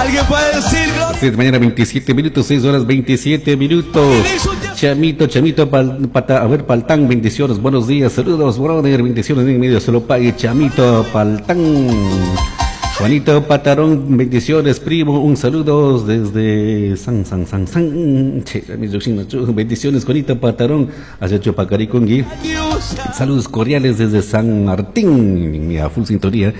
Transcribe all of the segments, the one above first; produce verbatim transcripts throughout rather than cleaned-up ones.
Alguien puede decir gloria. Seis de mañana veintisiete minutos, seis horas veintisiete minutos. Chamito, Chamito, pal, pata, a ver, Paltán, bendiciones, buenos días, saludos, brother, bendiciones en medio, solo pague, Chamito, Paltán. Juanito Patarón, bendiciones, primo, un saludo desde San San San San. Bendiciones, Juanito Patarón, hacia Chupacaricungui. Saludos cordiales desde San Martín, a full sintonía.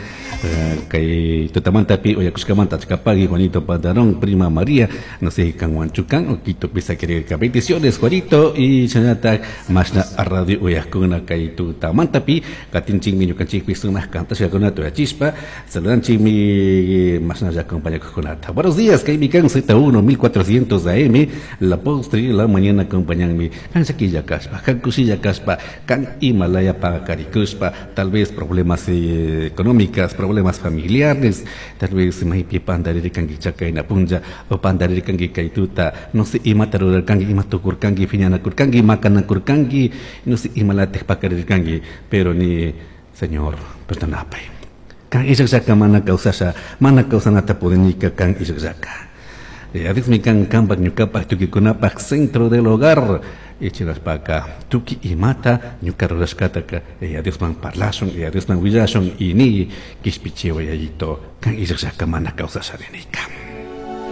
Kay Tutamantapi, Oyacushcamanta, Chacapagui, Juanito Patarón, prima María, no sé, Canhuanchucán, Oquito, Pisa, Quereca. Bendiciones, Juanito, y Chanata, Mashna, Radio Oyacuna, Kay Tutamantapi, Katinchingmi, Ñucanchikpi, Sumas, Cantasha, Chispa, saludan Chimi. Más nos acompaña con. Buenos días, K Z uno, mil cuatrocientos A M, la postre la mañana acompañanme. Kan Shaquilla Kaspa, kan Kusilla Kaspa, kan Himalaya Pacaricuspa, tal vez problemas eh, económicas, problemas familiares, tal vez Maipi Pandaririkangi Chakaina Punja, o Pandaririkangi Kaituta, no sé, Imatarurkangi, Imatukurkangi, Fiñanakurkangi, Macanakurkangi, no sé, Imalatej Pacaririkangi, pero ni, Señor, perdonapay. Kan ishakshaka mana kawsasha, mana kawsanata pudinika kan ishakshaka. Adismi kan kampak ñukapak tukikunapaq centro del hogar. Ichiraspaka tuki imata ñuka rurashkataka Diosman parlashun, Diosman willashun y ni kishpichiwa yayito kan ishakshaka mana kawsasha rinika.